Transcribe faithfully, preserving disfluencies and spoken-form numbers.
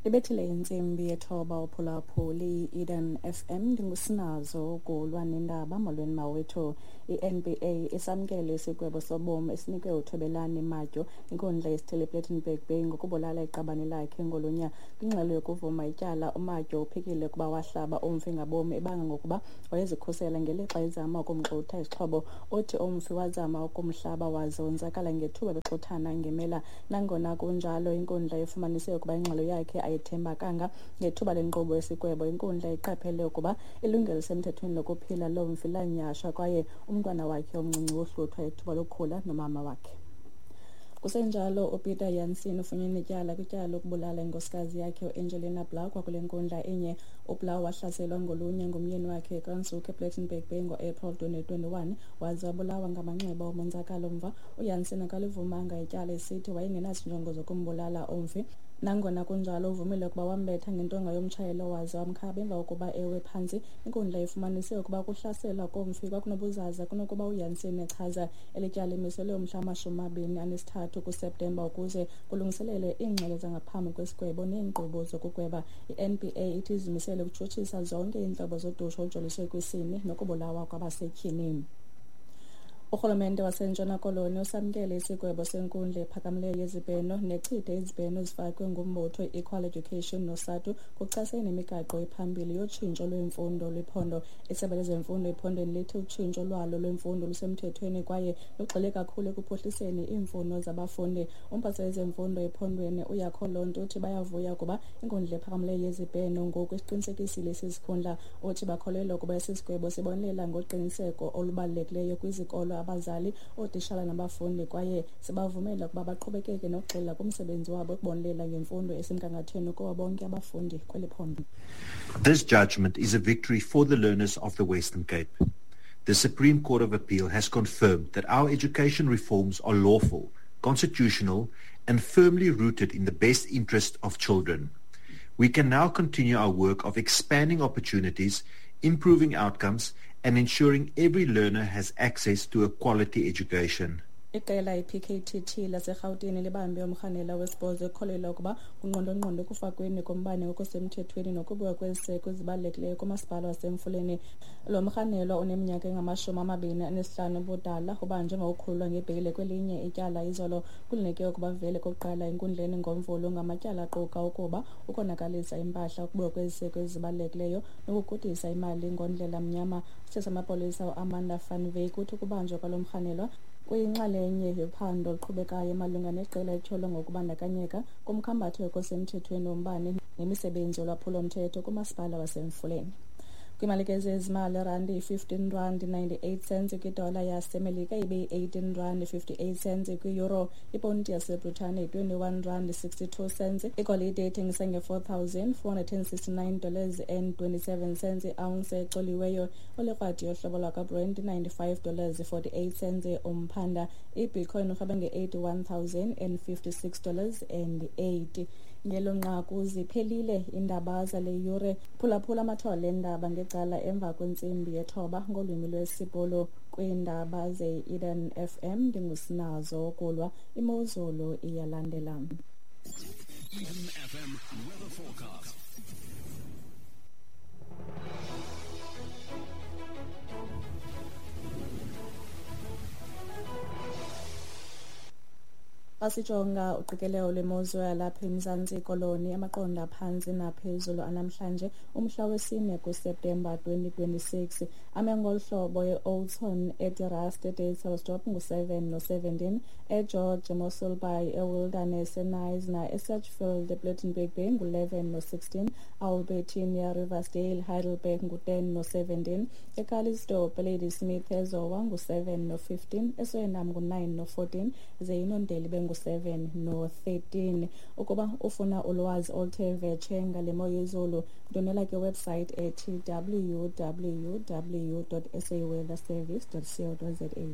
Ibethile intsimbi yethoba uphulaphuli Eden F M ndingusinazo ukulwa nendaba. Molweni mawethu. I-N B A isamkele isigwebo sobomi esinikwe uThobelani Matyo inkundla yesithili Plettenberg Bay ngokubulala iqabane lakhe ngolunya. Kwingxelo yokuvuma ityala uMatyo uphikile ukuba wahlaba umfi ngabomi ebanga ngokuba wayezikhusela ngelixa ezama ukumxutha isixhobo. Uthi umfi wazama ukumhlaba waze wonzakala ngethuba bexuthana ngemela. Nangona kunjalo inkundla ifumanise ukuba ingxelo yakhe ayithembakanga. Ngethuba lenkqubo yesigwebo inkundla iqaphele ukuba ilungelo lisemthethweni lokuphila lomfi lanyhashwa kwaye umntwana wakhe omncinci wohluthwa ithuba lokukhula nomama wakhe. Kusenjalo uPeter Jansen ufunyenwe ityala kwityala lokubulala inkosikazi yakhe uAngelina Blau kwakule nkundla inye. UBlau wahlaselwa ngolunya ngumyeni wakhe eKranzhoek ePlettenberg Bay ngo-April twenty twenty-one waze wabulawa ngamanxeba omonzakalo mva. UJansen akalivumanga ityala esithi wayengenazinjongo zokumbulala umfi. Nangona kunjalo uvumile ukuba wambetha ngentonga yomtshayelo waze wamkhaba emva kokuba ewe phantsi. Inkundla ifumanise ukuba ukuhlaselwa komfi kwakunobuzaza kunokuba uJansen echaza. Eli tyala limiselwe umhla wamashumi amabini anesithathu kuSeptemba ukuze kulungiselelwe iingxelo zangaphambi kwesigwebo neenkqubo zokugweba. I-N B A ithi izimisele ukutshutshisa zonke iintlobo zodushe olujoliswe kwisini nokubulawa kwabasetyhini. Urhulumente waseNtshona Koloni usamkele isigwebo senkundla ephakamileyo yezibheno nechithe izibheno ezifakwe ngumbutho i-Equal Education noSATU kuchasene nemigaqo ephambili yotshintsho lwemfundo lwephondo. Isebe lezemfundo ephondweni lithi utshintsho lwalo lwemfundo lusemthethweni kwaye lugxile kakhulu ekuphuhliseni iimfuno zabafundi. Umphathiswa wezemfundo ephondweni uYakho Lonto uthi bayavuya ukuba inkundla ephakamileyo yezibheno ngoku isiqinisekisile esi sikhundla. Uthi bakholelwa ukuba esi sigwebo sibonelela ngoqiniseko olubalulekileyo kwizikolo, abazali, ootishala nabafundi kwaye sibavumela ukuba baqhubekeke nokugxila kumsebenzi wabo ukubonelela ngemfundo esemgangathweni kubo bonke abafundi kweli phondo. This judgment is a victory for the learners of the Western Cape. The Supreme Court of Appeal has confirmed that our education reforms are lawful, constitutional, and firmly rooted in the best interest of children. We can now continue our work of expanding opportunities, improving outcomes, and ensuring every learner has access to a quality education. Iqela i-P K T T laseRhawutini libambe umrhanela wesibhozo ekholelwa ukuba kungqondongqondo ekufakweni kombane ngokusemthethweni nokubiwa kweziseko ezibalulekileyo kumasipala waseMfuleni. Lo mrhanelwa uneminyaka engamashumi amabini anesihlanu ubudala ubanjwe ngokukhululwa ngebheyile kwelinye ityala izolo. Kulindeleke ukuba vele kokuqala enkundleni ngoMvulo ngamatyala aquka ukuba ukonakalisa impahla, ukubiwa kweziseko ezibalulekileyo nokugudisa imali ngondlela mnyama. Isithethi samapolisa uAmanda van Wyk uthi ukubanjwa kwalo mrhanelwa kuyinxalenye yophando oluqhubekayo malunga neqela elityholwa ngokubandakanyeka kumkhambatho osemthethweni wombane nemisebenzi yolwaphulo-mthetho kumasipala waseMfuleni. Kwimalike zezimali, irandi yi-fifteen rand ninety-eight cents kwidola yaseMelika, ibe yi-eighteen rand fifty-eight cents kwi-euro. Iponti yaseBritane yi-twenty-one rand sixty-two cents. Igolide ithengisa nge-four thousand four hundred and sixty-nine dollars and twenty-seven cents i-ounce ecoliweyo. Olikrwadi yohlobo lwakwaBrent ninety-five dollars forty-eight cents umphanda. IBitcoin irhweba nge-eighty-one thousand and fifty-six dollars and eighty. Ngelo nqaku ziphelile iindaba zale yure. Phulaphula amathole eendaba ngecala emva kwentsimbi yethoba ngolwimi lwesiBhulu. Kwiindaba ze-Eden F M ndingusinazo ukulwa. Imozulu iyalandela. Eden F M weather forecast. Basijonga uqikelelo lwemozulu yalapha eMzantsi Koloni, amaqondo aphantsi naphezulu anamhlanje umhla wesine kuSeptemba twenty twenty-six. Ame ngolu hlobo: e-Oudtshoorn, eDe-Rust, eDavidsdorp ngu-seven no-seventeen, eGeorge, eMossel Bay, eWilderness, eKnysna, eSedgefield, ePlettenberg Bay ngu-eleven no-sixteen, Albertinia, Riversdale, Heidelberg ngu-ten no-seventeen, eCalitzdorp, eLadysmith, eZowa ngu-seven no-fifteen, eSuriname ngu-nine no-fourteen, ze iNondeli bengu-seven no-thirteen. Ukuba ufuna ulwazi oluthe vetshe ngale mo yezulu, ndonela kwiwebsite ethi w w w dot s a weather service dot co dot z a.